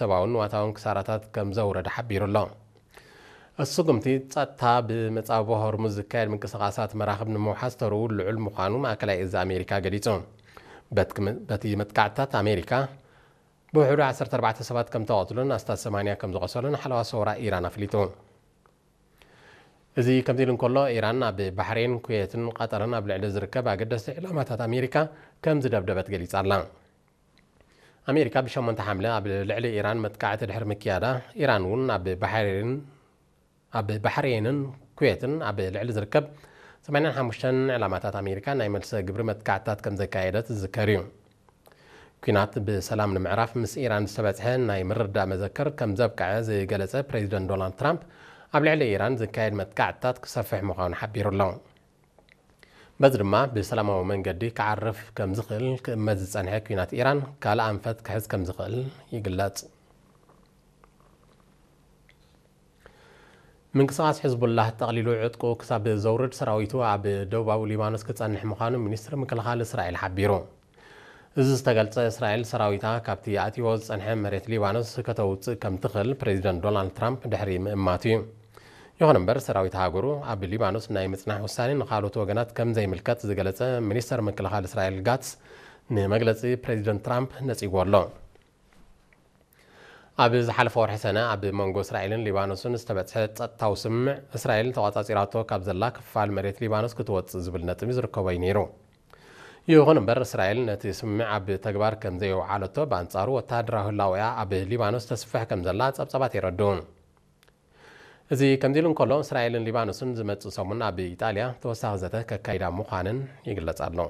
ሰብኣውን ንዋታውን ክሳራታት ከም ዘውረደ ሓቢሩ ኣሎ። እቲ ስጉምቲ ጸጥታ ብመጻብቦ ሆርሙዝ ዝካየድ ምንቅስቓሳት መራኽብ ንምውሓስ ተርኡ ልዑል ምዃኑ ማእከላይ እዝ ኣሜሪካ ገሊጹ። በቲ መጥቃዕትታት ኣሜሪካ ብውሕዱ ዓሰርተ ኣርባዕተ ሰባት ከም ተቐትሉን ኣስታት ሰማንያ ከም ዝቖሰሉን ሓለዋ ሰውራ ኢራን ኣፍሊጡ። እዚ ከምዚ ኢሉ እንከሎ፣ ኢራን ኣብ ባሕሬን፣ ኩዌትን ቐጠርን ኣብ ልዕሊ ዝርከብ ኣገደስቲ ዕላማታት ኣሜሪካ ከም ዝደብደበት ገሊጻ ኣላ። ኣሜሪካ ብሸሞንተ ሓምለ ኣብ ልዕሊ ኢራን መጥቃዕቲ ድሕሪ ምክያዳ፣ ኢራን እውን ኣብ ባሕሬን ኣብ ባሕሬንን ኩዌትን ኣብ ልዕሊ ዝርከብ ሰማንያን ሓሙሽተን ዕላማታት ኣሜሪካ ናይ መልሰ ግብሪ መጥቃዕትታት ከም ዘካየደት ዝዝከር እዩ። ኲናት ብሰላም ንምዕራፍ ምስ ኢራን ዝተበጽሐ ናይ ምርድዳእ መዘክር ከም ዘብቅዐ ዝገለጸ ፕሬዚደንት ዶናልድ ትራምፕ፣ ኣብ ልዕሊ ኢራን ዝካየድ መጥቃዕትታት ክሰፍሕ ምዃኑ ሓቢሩ ኣሎ። በዚ ድማ ብሰላማዊ መንገዲ ክዓርፍ ከም ዝኽእል ክእመት ዝጸንሐ ኲናት ኢራን ካልእ ኣንፈት ክሕዝ ከም ዝኽእል ይግለጽ። ምንቅስቓስ ሕዝቡላህ ጠቕሊሉ ዕጥቁ ክሳብ ዘውርድ ሰራዊቱ ኣብ ደቡባዊ ሊባኖስ ክጸንሕ ምዃኑ ሚኒስትሪ ምክልኻል እስራኤል ሓቢሩ። እዚ ዝተገልጸ እስራኤል ሰራዊታ ካብቲ ኣትይዎ ዝጸንሐ መሬት ሊባኖስ ከተውጽእ ከም ትኽእል ፕሬዚደንት ዶናልድ ትራምፕ ድሕሪ ምእማቱ እዩ። ይኹን እምበር ሰራዊት ሃገሩ ኣብ ሊባኖስ ናይ ምጽናሕ ውሳኔ ንኻልኦት ወገናት ከም ዘይምልከት ዝገለጸ ሚኒስተር ምክልኻል እስራኤል ጋትስ ንመግለጺ ፕሬዚደንት ትራምፕ ነጺግዎ ኣሎ። ኣብ ዝሓለፈ ወርሒ ሰነ ኣብ መንጎ እስራኤልን ሊባኖስን ዝተበጽሐ ጸጥታዊ ስምምዕ፣ እስራኤል ተቖጻጺራቶ ካብ ዘላ ክፋል መሬት ሊባኖስ ክትወጽእ ዝብል ነጥቢ ዝርከቦ እዩ ነይሩ። ይኹን እምበር እስራኤል ነቲ ስምምዕ ኣብ ተግባር ከም ዘየውዓለቶ፣ ብኣንጻሩ ወተሃደራዊ ህላወኣ ኣብ ሊባኖስ ተስፍሕ ከም ዘላ ጸብጻባት የረድኡ። እዚ ከምዚ ኢሉ እንከሎ፣ እስራኤልን ሊባኖስን ዝመጽእ ሰሙን ኣብ ኢጣልያ ተወሳኺ ዘተ ከካይዳ ምዃነን ይግለጽ ኣሎ።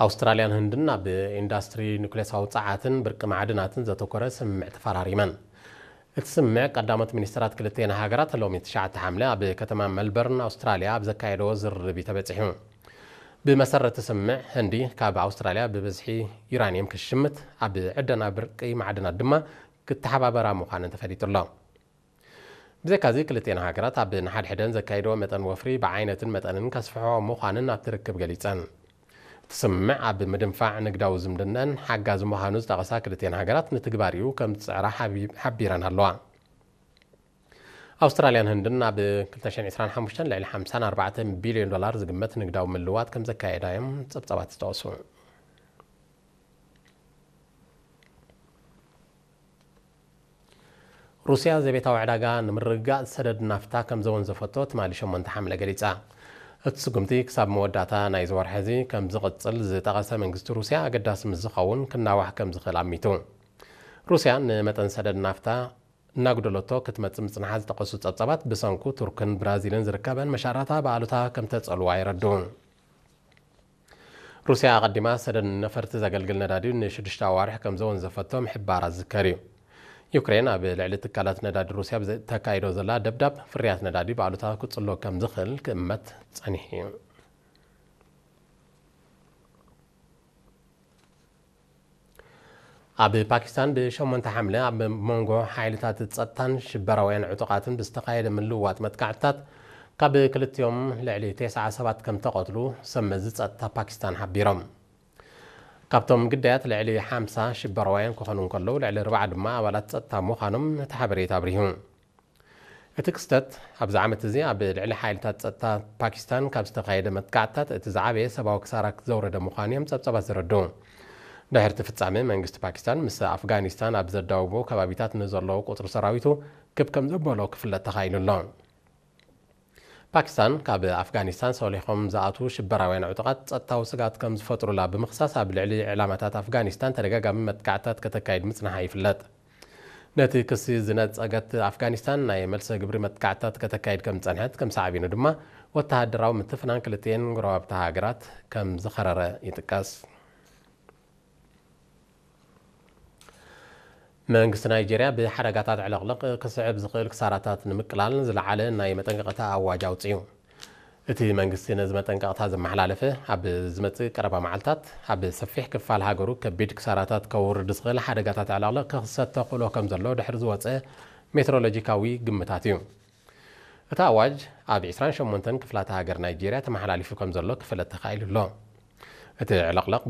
ኣውስትራልያን ህንድን ኣብ ኢንዳስትሪ ኑክሌሳዊ ጸዓትን ብርቂ ማዕድናትን ዘተኮረ ስምምዕ ተፈራሪመን። እቲ ስምምዕ ቀዳሞት ሚኒስትራት ክልቲኤን ሃገራት ሎሚ ትሽዓተ ሓምለ ኣብ ከተማ መልበርን ኣውስትራልያ ኣብ ዘካየደዎ ዝርርብ እዩ ተበጺሑ። ብመሰረት እቲ ስምምዕ፣ ህንዲ ካብ ኣውስትራልያ ብብዝሒ ዩራኒየም ክትሽምት፣ ኣብ ዕደና ብርቂ ማዕድናት ድማ ክተሓባበራ ምዃነን ተፈሊጡ ኣሎ። ብዘይካዚ ክልቲኤን ሃገራት ኣብ ንሓድሕደን ዘካይድዎ መጠን ወፍሪ ብዓይነትን መጠንን ከስፍሕኦ ምዃንን ኣብቲ ርክብ ገሊጸን። እቲ ስምምዕ ኣብ ምድንፋዕ ንግዳዊ ዝምድነን ሓጋዚ ምዃኑ ዝጠቐሳ ክልቲኤን ሃገራት ንትግባሪኡ ከም ዝጽዕራ ሓቢ-፣ ሓቢረን ኣለዋ። ኣውስትራልያን ህንድን ኣብ ክልተ ሽሕን ዕስራን ሓሙሽተን ልዕሊ ሓምሳን ኣርባዕተን ቢልዮን ዶላር ዝግመት ንግዳዊ ምልውዋጥ ከም ዘካየዳ እዮም ጸብጻባት ዝጠቕሱ። ሩስያ ዘቤታዊ ዕዳጋ ንምርግጋእ ሰደድ ናፍታ ከም ዘወንዘፈቶ ትማሊ ሸሞንተ ሓምለ ገሊጻ። እቲ ስጉምቲ ክሳብ መወዳእታ ናይዚ ወርሒ እዚ ከም ዝቕጽል ዝጠቐሰ መንግስቲ ሩስያ፣ ኣገዳሲ ምስ ዝኸውን ክናዋሕ ከም ዝኽእል ኣሚቱ። ሩስያ ንመጠን ሰደድ ናፍታ እናጉደለቶ ክትመጽእ ምጽንሓ ዝጠቐሱ ጸብጻባት፣ ብሰንኩ ቱርክን ብራዚልን ዝርከበን መሻራታ ብኣሉታ ከም ተጸልዋ የረድኡ። ሩስያ ኣቐዲማ ሰደድ ነፈርቲ ዘገልግል ነዳዲ ንሽዱሽተ ኣዋርሕ ከም ዘወንዘፈቶ ምሕባራ ዝዝከር እዩ። ዩክሬን ኣብ ልዕሊ ትካላት ነዳዲ ሩስያ ብዘተካይዶ ዘላ ደብዳብ፣ ፍርያት ነዳዲ ብኣሉታ ክጽሎ ከም ዝኽእል ክእመት ጸኒሑ እዩ። ኣብ ፓኪስታን ብሸሞንተ ሓምለ ኣብ መንጎ ሓይልታት ጸጥታን ሽበራውያን ዕጡቓትን ብዝተኻየደ ምልውዋጥ መጥቃዕትታት፣ ካብ ክልቲኦም ልዕሊ ተስዓ ሰባት ከም ተቐትሉ ሰብ መዚ ጸጥታ ፓኪስታን ሓቢሮም። ካብቶም ግዳያት ልዕሊ ሓምሳ ሽበራውያን ክኾኑ እንከለዉ፣ ልዕሊ ኣርባዓ ድማ ኣባላት ጸጥታ ምዃኖም እቲ ሓበሬታ ኣብሪሁ። እቲ ክስተት ኣብዚ ዓመት እዚ ኣብ ልዕሊ ሓይልታት ጸጥታ ፓኪስታን ካብ ዝተኻየደ መጥቃዕትታት እቲ ዝዓበየ ሰብኣዊ ክሳራ ዘውረደ ምዃኑ እዮም ጸብጻባት ዘረድኡ። ድሕሪ እቲ ፍጻመ፣ መንግስቲ ፓኪስታን ምስ ኣፍጋኒስታን ኣብ ዘዳውቦ ከባቢታት ንዘለዉ ቁጽሪ ሰራዊቱ ክብ ከም ዘበሎ ክፍለጥ ተኻኢሉ ኣሎ። ፓኪስታን ካብ ኣፍጋኒስታን ሰሊኾም ዝኣትዉ ሽበራውያን ዕጡቓት ጸጥታዊ ስግኣት ከም ዝፈጥሩላ ብምኽሳስ፣ ኣብ ልዕሊ ዕላማታት ኣፍጋኒስታን ተደጋጋሚ መጥቃዕትታት ከተካይድ ምጽንሓ ይፍለጥ። ነቲ ክሲ ዝነጸገት ኣፍጋኒስታን፣ ናይ መልሰ ግብሪ መጥቃዕትታት ከተካይድ ከም ዝጸንሐት፣ ከም ሳዕቤኑ ድማ ወተሃደራዊ ምትፍናን ክልቲኤን ጎረባብቲ ሃገራት ከም ዝኸረረ ይጥቀስ። መንግስቲ ናይጄርያ ብሓደጋታት ዕልቕልቕ ክስዕብ ዝኽእል ክሳራታት ንምቅላል ዝለዓለ ናይ መጠንቀቕታ ኣዋጅ ኣውጺኡ። እቲ መንግስቲ ነዚ መጠንቀቕታ ዘመሓላለፈ፣ ኣብ ዝመጽእ ቀረባ መዓልታት ኣብ ሰፊሕ ክፋል ሃገሩ ከቢድ ክሳራታት ከውርድ ዝኽእል ሓደጋታት ዕልቕልቕ ክኽሰት ተኽእሎ ከም ዘሎ ድሕሪ ዝወጸ ሜትሮሎጂካዊ ግምታት እዩ። እቲ ኣዋጅ ኣብ ዕስራን ሸሞንተን ክፍላተ ሃገር ናይጄርያ ተመሓላሊፉ ከም ዘሎ ክፍለጥ ተኻኢሉ ኣሎ። እቲ ዕልቕልቕ